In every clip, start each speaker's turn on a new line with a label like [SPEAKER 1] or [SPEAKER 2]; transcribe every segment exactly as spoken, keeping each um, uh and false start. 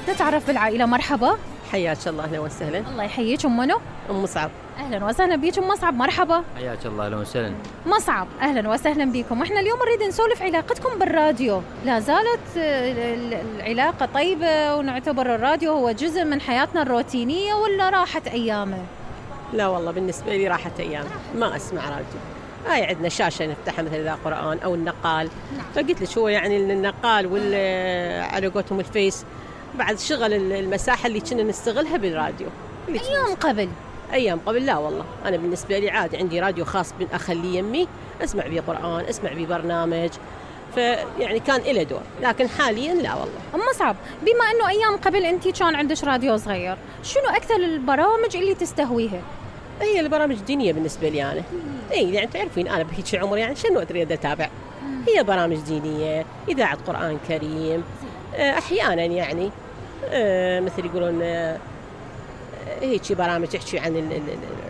[SPEAKER 1] نتعرف بالعائلة. مرحبا.
[SPEAKER 2] حياك الله، اهلا وسهلا.
[SPEAKER 1] الله يحييك. ام منو؟
[SPEAKER 2] ام مصعب.
[SPEAKER 1] اهلا وسهلا بيك ام مصعب. مرحبا.
[SPEAKER 3] حياك الله، اهلا وسهلا.
[SPEAKER 1] مصعب اهلا وسهلا بكم. احنا اليوم نريد نسولف علاقتكم بالراديو. لا زالت العلاقة طيبة ونعتبر الراديو هو جزء من حياتنا الروتينية ولا راحت ايامه؟
[SPEAKER 2] لا والله بالنسبة لي راحت ايام، ما اسمع راديو. هاي عندنا شاشة نفتحها مثل إذا قرآن أو النقال. فقلت لك هو يعني النقال وال على قولتهم الفيس بعد شغل المساحة اللي كنا نستغلها بالراديو.
[SPEAKER 1] أيام قبل
[SPEAKER 2] أيام قبل لا والله، أنا بالنسبة لي عادي عندي راديو خاص بأخلي يمي أسمع بيه قرآن، أسمع بيه برنامج، فيعني كان إله دور. لكن حاليا لا والله.
[SPEAKER 1] أم مصعب، بما أنه أيام قبل أنتي كان عندك راديو صغير، شنو أكثر البرامج اللي تستهويها؟
[SPEAKER 2] هي البرامج الدينية بالنسبة لي أنا. إيه يعني تعرفين أنا بهيك عمر يعني شنو أريد أتابع؟ هي برامج دينية، إذاعة قرآن كريم، أحيانا يعني مثل يقولون هيك برامج تحكي عن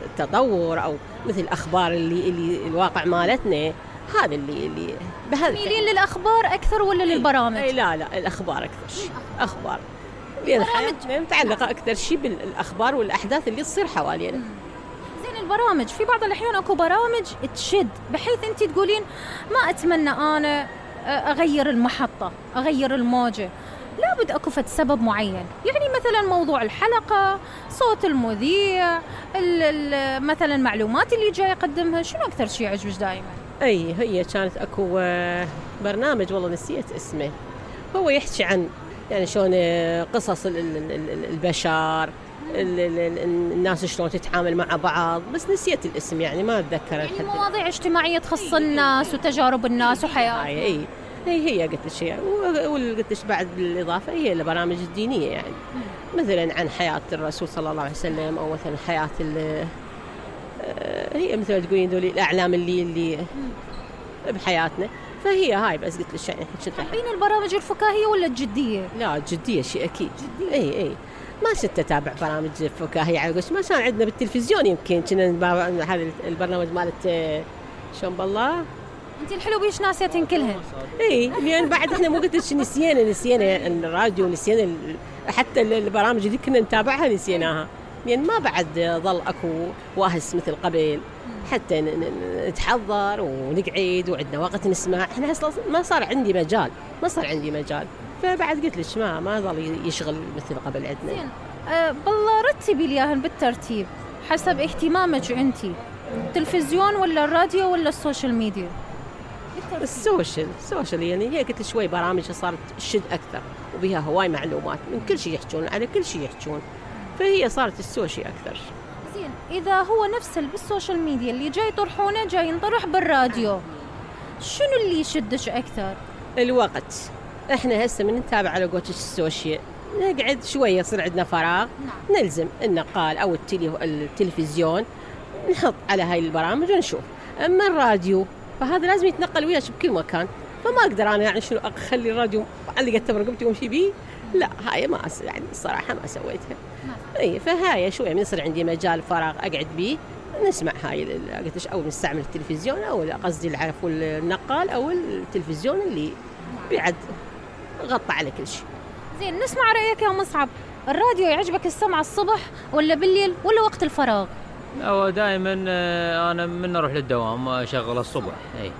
[SPEAKER 2] التطور أو مثل الأخبار اللي اللي الواقع مالتنا. هذا اللي اللي
[SPEAKER 1] تميلين للأخبار أكثر ولا للبرامج؟
[SPEAKER 2] أي لا لا الأخبار أكثر شيء. أخبار لأن حياتنا متعلقة أكثر شيء بالأخبار والأحداث اللي تصير حوالينا.
[SPEAKER 1] البرامج في بعض الأحيان أكو برامج تشد بحيث أنت تقولين ما أتمنى أنا أغير المحطة أغير الموجة، لابد أكو فد سبب معين. يعني مثلا موضوع الحلقة، صوت المذيع، مثلا المعلومات اللي جاي يقدمها، شنو أكثر شيء يعجبك دائما؟
[SPEAKER 2] أي هي كانت أكو برنامج والله نسيت اسمه، هو يحكي عن يعني شلون قصص البشر، الناس شلون تتعامل مع بعض، بس نسيت الاسم يعني ما أتذكر.
[SPEAKER 1] يعني مواضيع اجتماعية تخص الناس وتجارب الناس وحياتهم.
[SPEAKER 2] اي هي هي قلت لك هي وقلت لك بعد بالإضافة هي البرامج الدينية يعني مثلا عن حياة الرسول صلى الله عليه وسلم أو مثلا حياة هي مثل تقولين ذولي الأعلام اللي اللي بحياتنا. فهي هاي بس قلت لك يعني
[SPEAKER 1] بين البرامج الفكاهية ولا الجدية؟
[SPEAKER 2] لا الجدية شيء أكيد. جدية. اي اي ما كنت أتابع برامج فكاهية على قولش ما كان عندنا بالتلفزيون. يمكن كنا هذا البرنامج مالت شلون بالله
[SPEAKER 1] انت الحلو بيش ناسيتين كلهن.
[SPEAKER 2] اي لان بعد احنا مو قلت لك نسينا نسينا الراديو، نسينا حتى البرامج اللي كنا نتابعها نسيناها، لان ما بعد ظل اكو واهس مثل قبل حتى نتحضر ونقعد وعندنا وقت نسمع. احنا اصلا ما صار عندي مجال ما صار عندي مجال فبعد قلت لك ما ما ظل يشغل مثل قبل عندنا.
[SPEAKER 1] زين أه بالله رتبي لي اياهن بالترتيب حسب اهتمامك انتي، التلفزيون ولا الراديو ولا السوشيال ميديا؟
[SPEAKER 2] السوشيال السوشيال يعني هي قلت شوي برامج صارت تشد اكثر وبها هواي معلومات من كل شيء يحجون على كل شيء يحجون، فهي صارت السوشيال اكثر.
[SPEAKER 1] زين اذا هو نفس بالسوشيال ميديا اللي جاي يطرحونه جاي ينطرح بالراديو، شنو اللي يشدش اكثر؟
[SPEAKER 2] الوقت. احنا هسه من نتابع على قولتك السوشيال نقعد شويه يصير عندنا فراغ نعم. نلزم النقال او التلفزيون نحط على هاي البرامج ونشوف. اما الراديو فهذا لازم يتنقل وياك بكل مكان، فما اقدر انا يعني شنو اخلي الراديو علقت برقبتي وامشي بيه. لا هاي ما أس... يعني الصراحه ما سويتها. اي فهاي شويه من يصير عندي مجال فراغ اقعد بيه نسمع هاي قلت او نستعمل التلفزيون او قصدي العفو النقال او التلفزيون اللي بعد غطى على كل شيء.
[SPEAKER 1] زين نسمع رايك يا مصعب، الراديو يعجبك السمع الصبح ولا بالليل ولا وقت الفراغ؟
[SPEAKER 3] هو دائما انا من اروح للدوام اشغل الصبح. اي